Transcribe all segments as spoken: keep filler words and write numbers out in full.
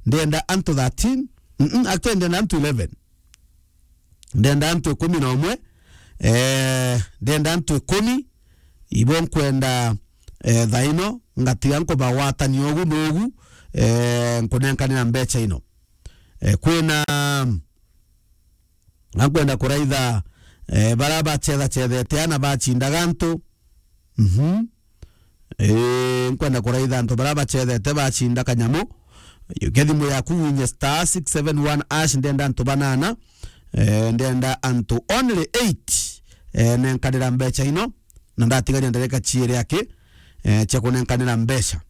ndenda antu thirteen, mm, actually ndenda antu eleven. Ndenda antu ikumi na umwe, eh, ndenda antu ikumi, ibo nkwenda, eh, thaino, ngatiga nkubagwatania ugu na ugu, eh, nkunenkanira mbecha ino. Eh, kwina, nkwenda kuraitha, eh, bara bachethachethete ana bachindaga antu. Mhm. Eh, nkwenda kuraitha antu bara bachethete bacinda kanyamu. Yukia thimu yaku winye star six seven one hash, ndenda antu banana. Eh, ndenda antu only eight, eh, nenkanira mbecha ino. Na ndatigaria ndereka chiere aki, eh, chia kunenkanira mbecha.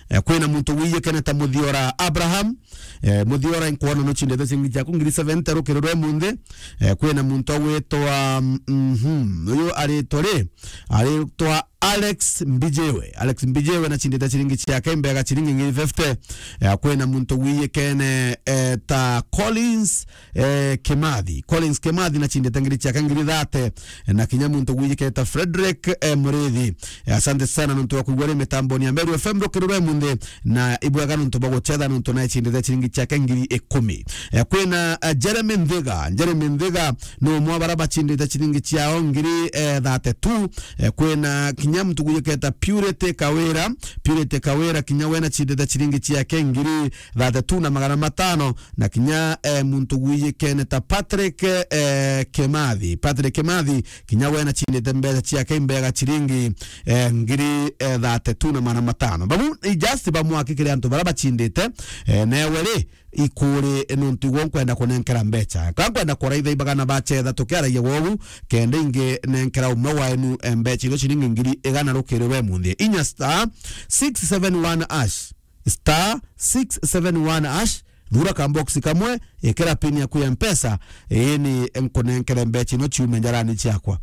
Eh, kwina muntu wiyikene ta Muthiora Abraham. Eh, Muthiora, inkwona nuchindete ciringi ciaku ngiri seventy rukiri rwa munthi. Eh, kwina muntu agwitwa, mhm, uyu aritwa ri? Aritwa Alex Mbijiwe. Alex Mbijiwe nachindite ciringi ciake imbega ciringi ngiri fifty. Eh, kwina muntu wiyikene, eh, ta Collins, eh, Kimathi. Collins Kimathi nachindite ngiri ciake ngiri thirty. Eh, na kinya muntu wiyikene ta Frederick, eh, Murithi. Eh, asante sana nontu wa kuigua ri mitamboni ya Meru F M rukiri rwa munthi, na ibwega nontu bwa guchetha nontu naechindite ciringi ciake ngiri ikumi. Eh, kwina, eh, Jeremy Nthiga. Jeremy Nthiga ni umwe wa bara bachindite ciringi ciao ngiri, eh, thirty-two. Eh, kwina kinya muntu guyiketa Purity Kawira. Purity Kawira kinya we nachindite ciringi ciake ngiri thirty-two na magana matano. Na kinya, eh, muntu guyikene ta Patrick, eh, Kimathi. Patrick Kimathi kinya we nachindite mbecha ciake imbega ciringi, eh, ngiri, eh, thirty-two na magana matano. Babu i just bamwe aki kiri antu bara bachindite, eh, newe ri ikuri nontu igwo nkwenda kunenkera mbecha. Ka nkwenda kuraitha ibagana bachetha tukiaragia gwogu, kenda ingi nenkera umwe waenu, eh, mbecha iria ciringi ngiri igana rukiri rwa munthi. Inya star six seven one hash. Star six seven one hash, thura ka box kamwe, ikira pin yaku ya Mpesa, ini nkunenkere mbecha ino ciume njarani ciakwa.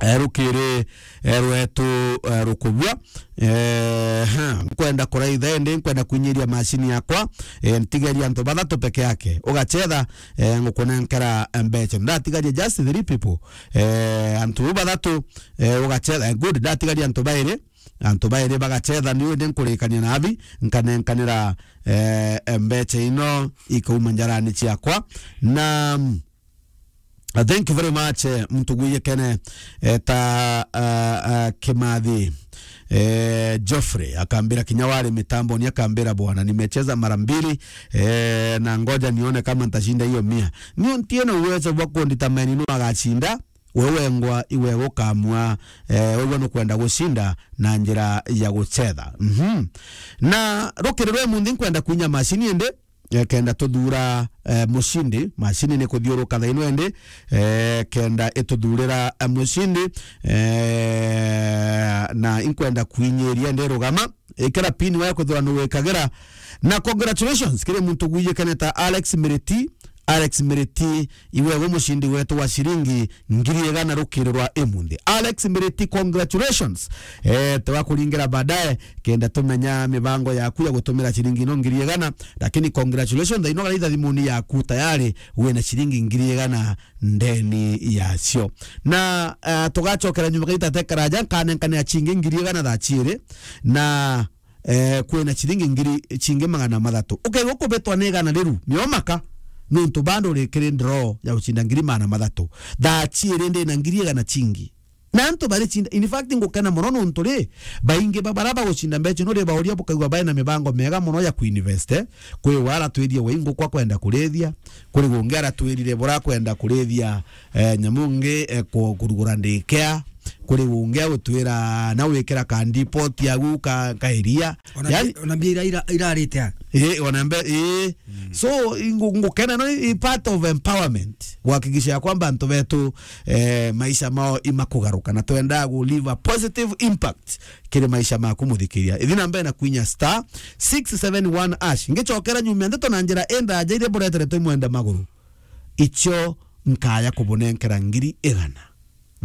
Eh, rukiri, eh, rwetu, eh, rukubua. Eh, ha, nkwenda kuraitha indi nkwenda kwinyiria machine yakwa, eh, ntigeria antu bathatu peke yake. Ugachetha, eh, ngukunenkera mbecha. Ndatigaria just three people. Eh, antu bathatu, eh, ugachetha, eh, good, ndatigaria antu bairi. Antu bairi bagachetha, niu indi nkurikania na athi, nkanenkanira, eh, mbecha ino ikauma njarani ciakwa. Na, mm, thank you very much, eh, muntu gwiyekene, eh, ta, ah, ah, Kimathi, eh, Geoffrey, akambira kinya wari mitamboni, akambira, "Bwana, nimecheza mara mbili, eh, na ngoja nione kama nitashinda hiyo mia." Niu ntiena uwezo bwa kundetermine nu agachinda, we wengwa iwe gukamua, eh, wegwa nukwenda gucinda na njira ya guchetha. Mhm. Na rukiri rwe munthi nkwenda kwinya machine indi, eh, kenda tuthura, eh, mucindi. Machine ni kuthiuruka thaino indi, eh, kenda ituthurira, eh, mucindi, eh, na inkwenda kwinyiria ndi rugama. Ikira pin wa kuthura nu wikagira. Na congratulations kiri muntu gwiyekene ta Alex Miriti. Alex Miriti, iwe we mucindi wetu wa ciringi ngiri igana rukiri rwa imunthi. Alex Miriti, congratulations. Eh, tugakuringira baadaye, kenda tumenya mibango yaku ya gutumira ciringi ino ngiri igana, lakini congratulations, thaino garaitha thimuni yaku tayari wina ciringi ngiri igana ndeni yacio. Na, eh, tugacokera nyuma gaita tekaraja, nkanenkanira cingi ngiri igana thaa ciiri, na, eh, kwina ciringi ngiri cingi magana mathatu. Ukaigua kubitwa ni igana riru, miomaka, nontu bado urikiri draw ya gucinda ngiri magana mathatu. Thaa ciiri ndina ngiri igana cingi. Na antu bari cinda, in fact, ngukena mono nontu ri, baingi ba bara bagucinda mbecha ino ri bauria bukaigua baina mibango mega mono ya kuinvest, eh? Kwi wa aratwirie wai nguku akwenda kurithia, kuri gungi aratwirire bura akwenda kurithia, eh, nyamu ngi, eh, ku-, kurugura ndikea, kuri gungi agutwira na wikira ka depot yagu ka, ka iria. Ona yani bi-, ona mbia ira, ira, irarite a? Eh, ona mbe, eh. Mm. So, ingu-, ngukena no i part of empowerment. Kuhakikisha ya kwamba antu betu, eh, maisha mao imakugaruka. Na twenda gu leave a positive impact kiri maisha maku muthikiria. Ithi na mbere na kwinya star six seven one hash. Ngicokera nyuma ndeto na njira indaja iria bureteretwe imwenda maguru. Icio nkaya kubunenkera ngiri igana.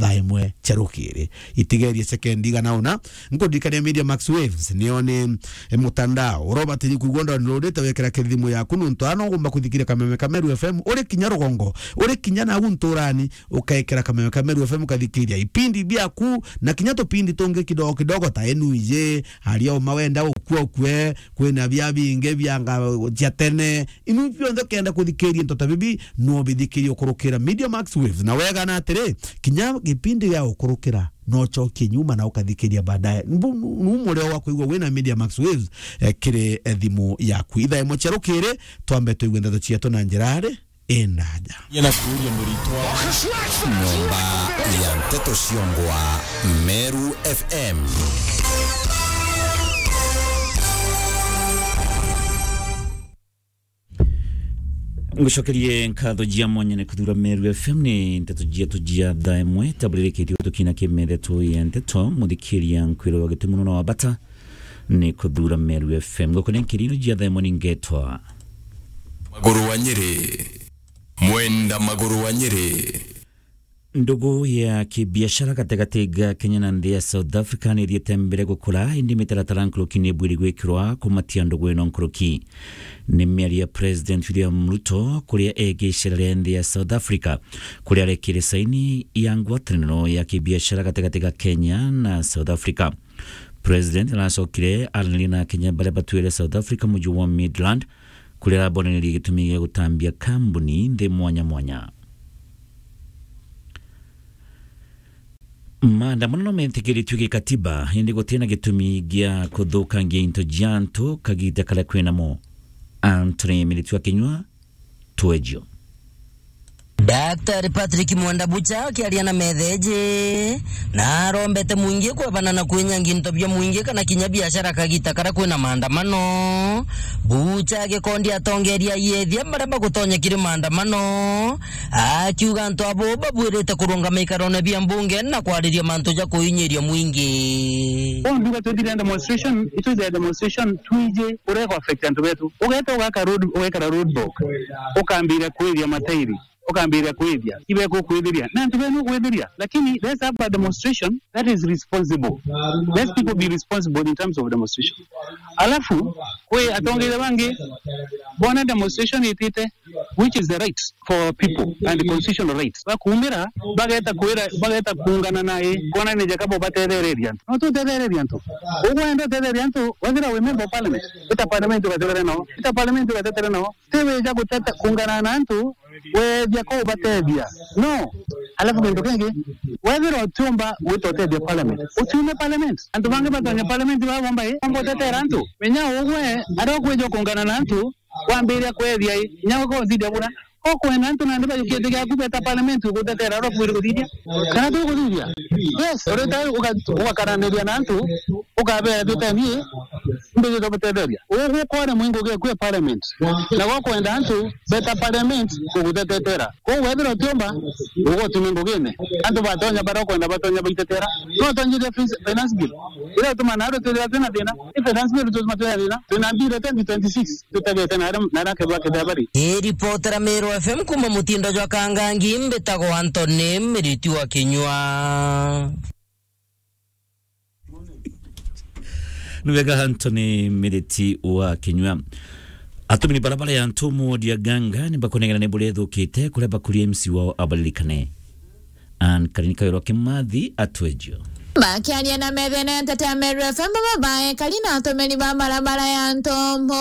thaa imwe cia rukiri. Itigerie sekendi igana una, nkuririkania Media Max Waves, niyo ni, eh, mutandao uria ubatiri kwigua downloadite wekira kithimu yaku, nontu ana ugomba kuthikiria Kameme ka Meru F M, uri kinya rugongo, uri kinya nagu nturani, ukekira Kameme ka Meru F M, ukathikiria ipindi biaku, na kinya tupindi tungi kidogo kidogo, ta Enu Iji, Aria Uma Wenda Ukue Ukue, kwina bia bingi bianga cia tene, inu bionthe ukenda kuthikiria into ta bibi, no bithikirie ukurukira Media Max Waves. Na wega na atiri, kinya gipindi gia ukurukira, no ucokie nyuma na ukathikiria baadaye. Mbu-, nu-, nu murio wa kwigua wina Media Max Waves, eh, kiri, eh, thimu yaku. Ithaa imwe cia rukiri, twambe tuigue ndeto cietu na njira ari indaja. Yena kuuria muritwa. Nyomba ya nteto ciongwa Meru F M. Ngucokerie nkatho jia mwanya ni kuthura Meru F M. Ni nteto jietu jia thaa imwe taburirikitio tukina kimethe tu ya nteto. Muthikiria, nkwirwa gitumi munene wa bata ni kuthura Meru F M. Gukuni nkirino jia thaa imwe ni ngetwa Maguru wa Nyeri. Mwenda Maguru wa Nyeri. Ndugu ya kibiashara gatigati ga Kenya na nthi ya South Africa ni ithiite mbere gukura, indi mitaratara nkuruki ni ibwiri gwikirwa kumatia ndugu ino nkuruki. Ni miario ya President William Ruto kuria egi icera ria nthi ya South Africa, kuria arekire saini ya ngwataniro ya kibiashara gatigati ga Kenya na South Africa. President aracokire araniria na Akenya baria batwire South Africa muji wa Midrand, kuria arabonanirie gitumi gia gutambia kambuni nthi mwanya mwanya. Maandamano no metikiritue gikatiba, indi gutina gitumi gia kuthukangia into cia antu kagita karia kwinamo. Anthony Miritu Akinyua, Twejo. Daktari Patrick Mwenda Bucha akiaria na metheji, na arombete mwingi kwebana na kwinyangia into bia mwingi kana kinya biashara kagita karia kwina maandamano. Bucha agikondi atongeria aiethia baria bagutonya kiri maandamano, akiuga antu abo babwirite kurungama ikarone bia mbunge na kwariria mantu ja kuinyiria mwingi. Bo nduga twithire demonstration, itwithire demonstration twiji uria gu affect antu betu. Ugeta ugaka road, ugekara roadblock, ukambiria kwithia matairi, ukambiria kwithia, ibe kukwithiria, na antu benu kwithiria. Lakini let's have a demonstration that is responsible. Let people be responsible in terms of demonstration. Alafu, kwi atongeria bangi, bona demonstration itite, which is the right for people and constitutional rights. Bakumira, bageta kwira, bageta kuungana nae, kwona ni Jacob batethereria antu. No tutethereria antu. Ugwenda utethereria antu, wethira wi member of parliament, ita parliament ugatetere nao, ita parliament ugatetere nao. Ti wija guteta, kuungana na antu, wethia ko ubatethia. No. Alafu kintu kingi, wethira utiumba gwita utethia parliament, utiume parliament. Antu bangi batonya parliament baba bomba i, bomba utetera antu. Menya ugwe, aria ukwija kuungana na antu, wambiria kwethia i, inya uko uthithia buna. Ko kwenda antu nandi bajukie giti giaku beta parliament ugutetera, aria ukwiri kuthithia. Kana tu kuthithia? Yes, urita uga-, ugakaraniria na antu, ukabera bitanie, mbijite gutetheria. Ugu kwore mwingo gwe kwi parliament. Na gwo kwenda antu beta parliament kugutetetera. Kou wethira utiumba, ugutume ngugine. Antu batonya baria ukwenda batonya baitetera. No tonye finance bill. Ira utuma nario twithira twina thina. Ni finance bill tutuma twina thina. Twina bill twenty twenty-six. Tutegete na aria, na aria kethwa kethwa bari. Ni ripotera Meru F M kuma mutindo jwa Kangangi, mbitagwa Anthony Miriti wa Kinyua. Ni wega Anthony Miriti wa Kinyua. Atumiri barabara ya Ntumu wodi ya Ganga ni bakunengera ni buria ithukite, kuria bakuria M C wao abaririkane. Anne Karini Kawirwa Kimathi atwejio. Bakiaria na methene ya Nteto ya Meru F M, baba baekari na atumiri ba barabara ya Ntumu,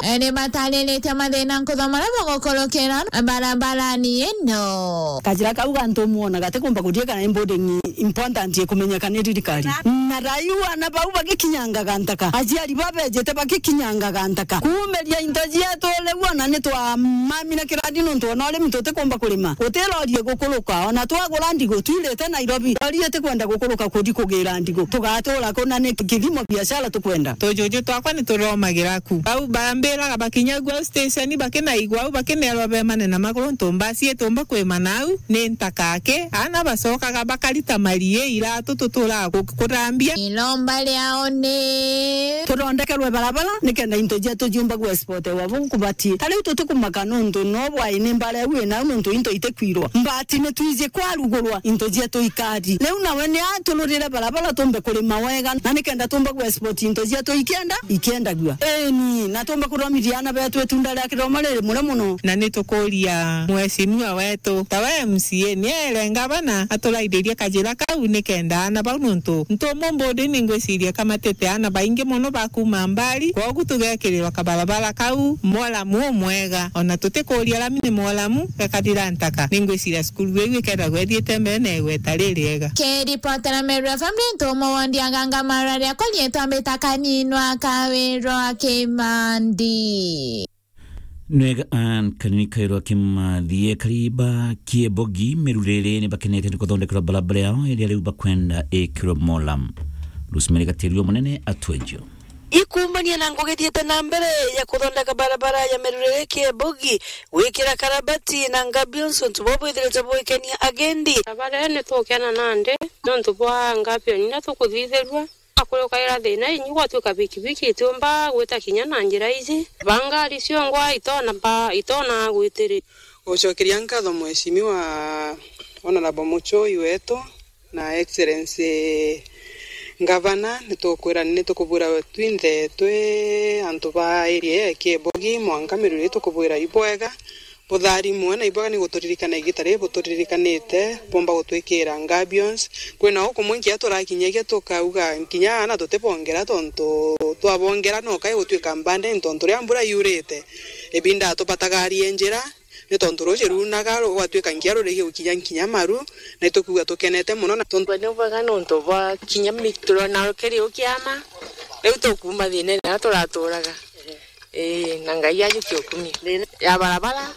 e, ni batariritie mathina nkutha maria bagukurukira barabarani ino. Kajira kau ga Ntumu ona gatikumba kuthie kana ni building important ikumenyeka ni thirikari. Na raiu ana bau bagikinyangaga ntaka, aciari babejete bagikinyangaga ntaka. Kuumiria into cietu riu ona ni twamamire kirathi nontu ona urimi tutikumba kurima. Guti lori igukuruka, ona twagura ndigu, twirite Nairobi. Lori itikwenda gukuruka kuthi kugira ndigu. Tugatura ku na ni kithimo biashara tukwenda. Tujuju twakwa ni turomagira ku. Bau bambiraga bakinya gwa station bakinaigua au, bakinerwa bemane na maguru ntu mbasi itumba kwimana au, ni ntaka aki. Ana bacokaga bakarita marie iratu tuturaga ku-, kurambia. Iromba riao ni tuthondekerwe barabara nikenda into cietu ciumba gwa exportewa. Bunkuba Ti. Ta riu tutikumaka nontu no bwai ni mbara iu inau nontu into itikwirwa. Mbati ni twiji kwarugurwa into cietu ikari. Riu nawe ni atururire barabara tumbe kurima wega, na nikenda tumbe ku export into cietu ikienda, ikiendagua. Eni, na tumbe kuthomithia aana betu itunda ria kithomo riri murio muno. Na ni tukuria mheshimiwa wetu, ta we M C A, ni aire ngavana aturaithirie kajira kau nikenda aana bau nontu ntumu mbudi ni ngwiciria kamatite aana baingi muno ba kuuma mbari. Kwogu tugekirirwa kabarabara kau, mwolamu umwega. Ona tutikuria lami ni mwolamu, gakathira ntaka. Ni ngwiciria cukuru iu ikethagwa ithiite mbere na igweta ririega. Kiripotera Meru F M ni Ntumo Wondi Aganga, mara riakwa riitwa mbita Kaninwa Kawirwa Kimandi. Nwega an kanini kairwa kimathie kariba kiebogi merurere ni bakenete ni kuthondekerwa barabara yao iria riu bakwenda ikirwe mola. Rosemary Gatirio munene atwenjio. Ikuumania na ngugi ithiite na mbere ya kuthondeka barabara ya merurere kiebogi, gwikira karabati na ngabions, untu buu bwithirite bwikenia agendi. Barabara ii ni tukena nandi nontu bwa ngabion iria tukuthithirua. Akurukaira thina inyi gwatuika bikibiki itiumba gwita kinya na njira iji. Ba ngari ciongwa itona ba, itona gwitiri. Gucokeria nkatho Mheshimiwa Honorable Muchoi wetu na Excellency Ngavana, nitukwira ni tukubwira twinthe twi antu ba area ya Kiebogi, mwanka miruri tukubwira ibwega. Butharimwe na ibwega ni guturirikana igita riri buturirikaniite, bumba gutwikira ngabions. Kwina ukumwe nkinya turakinyagia tukauga nkinya aana tutibongera, tontu twabongera no kai gutwika mbande, ni tontu riria mbura yurite, ibinda tubatagarie njira, ni tontu ruuji ruunaga, rugatuika nkinya rurigi gukinya nkinya maru, na itukuigua tukenete mono na tontu ni bwega nontu bwa kinya mi-, turona rukiri ukiama, riu tukuuma thiinene na turaturaga. Ii, na Ngai ajukie ukumia. Ya barabara,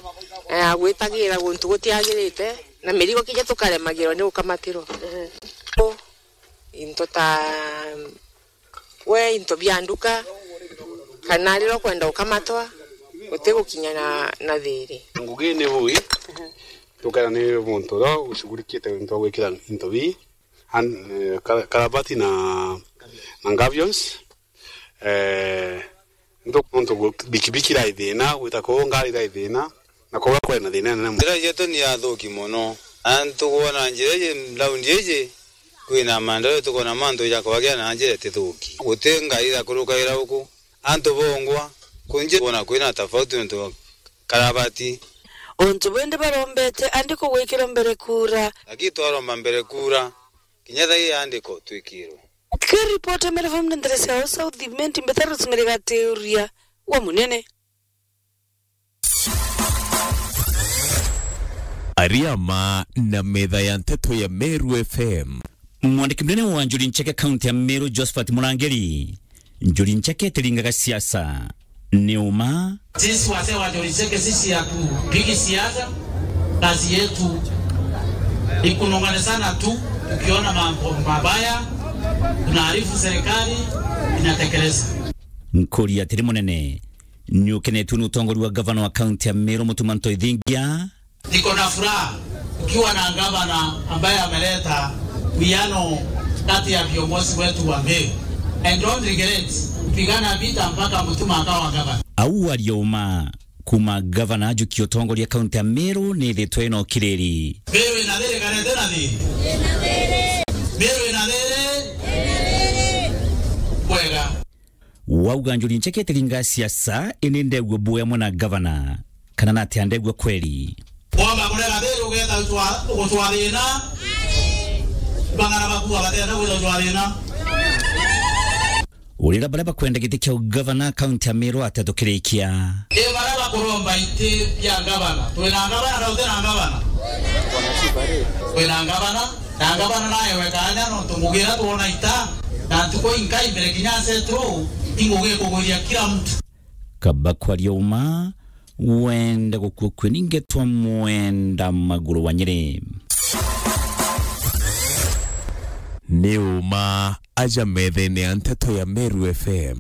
na ya gwitagira guntu gutiagirite, na mirigo kinya tukaremagirwa ni gukamatirwa. Into ta we, into bia nduka, kana riria ukwenda gukamatwa, utigukinya na, na thiri. Ngugi ni bui, tukera ni muntu uria ushughulikite into gwikira into bii, an-, eh, kara-, karabati na, na ngabions. Eh, ntu-, ntu gu-, bikibiki irai thina, gwita kuu ngari irai thina, na kuria kwari na thina inene mono. Njira cietu ni athuki mono. Antu kwona njira iji, raundi iji, kwina maendeleo, tukwona mantu ja kwagia na njira itithuki. Guti ngari irakurukagira uku. Antu bongwa, kunji kwona kwina tofauti nontu karabati. Untu bwindi barombete andiko gwikirwa mbere kura. Lakini twaromba mbere kura, kinya thaa ii andiko twikirwe. Kiripota Meru F M ni nderesi ya South Imenti, mbeta Rosemary Gatiuria wa Munene. Ariama na metha ya nteto ya Meru F M. Mwandiki munene wa Njuri Ncheke kaunti ya Meru, Josephat Murangiri, Njuri Ncheke itiringaga siasa. Ni uma. Sisi wazee wa Njuri Ncheke, sisi hatupigi siasa. Kazi yetu ni kunong'onezana tu, tukiona mambo mabaya, tunaarifu serikali inatekeleza. Nkuri atiri munene, ni ukenetue ni utongori wa gavana wa kaunti ya Meru, Mutuma Ntoithingia? Niko na furaha ukiwa na gavana ambaye ameleta uwiano kati ya viongozi wetu wa Meru. And don't regret kupigana vita mpaka Mutuma akawa gavana. Au aria uma kuma gavana ajukia utongoria kaunti ya Meru ni ithitwe ina ukiriri. Meru ina thiri kana itina thiri? Meru ina thiri? Bwega. Wauga Njuri Ncheke itiringa siasa, ini ndegua bui amwe na gavana, kana natia ndegua kweri? Womba kurega thiri ugeeta gutwa-, gutwa thina? Bang'ana bakuga batenda gwita gutwa thina. Urira baria bakwenda giti kia ugavana kaunti ya Meru atia tukirikia? Ni baria bakuromba iti bia gavana. Twina gavana na tutina gavana? Twina gavana. Na ngavana naewe kaanya nontu ngugi iria twona ita, na ntuku inkai mbere kinya asetru, i ngugi ikugwiria kila mtu. Kaba kwaria uma, wenda gukua kue ningetwa Mwenda Maguru wa Nyeri. Ni uma aja methene ya nteto ya Meru F M.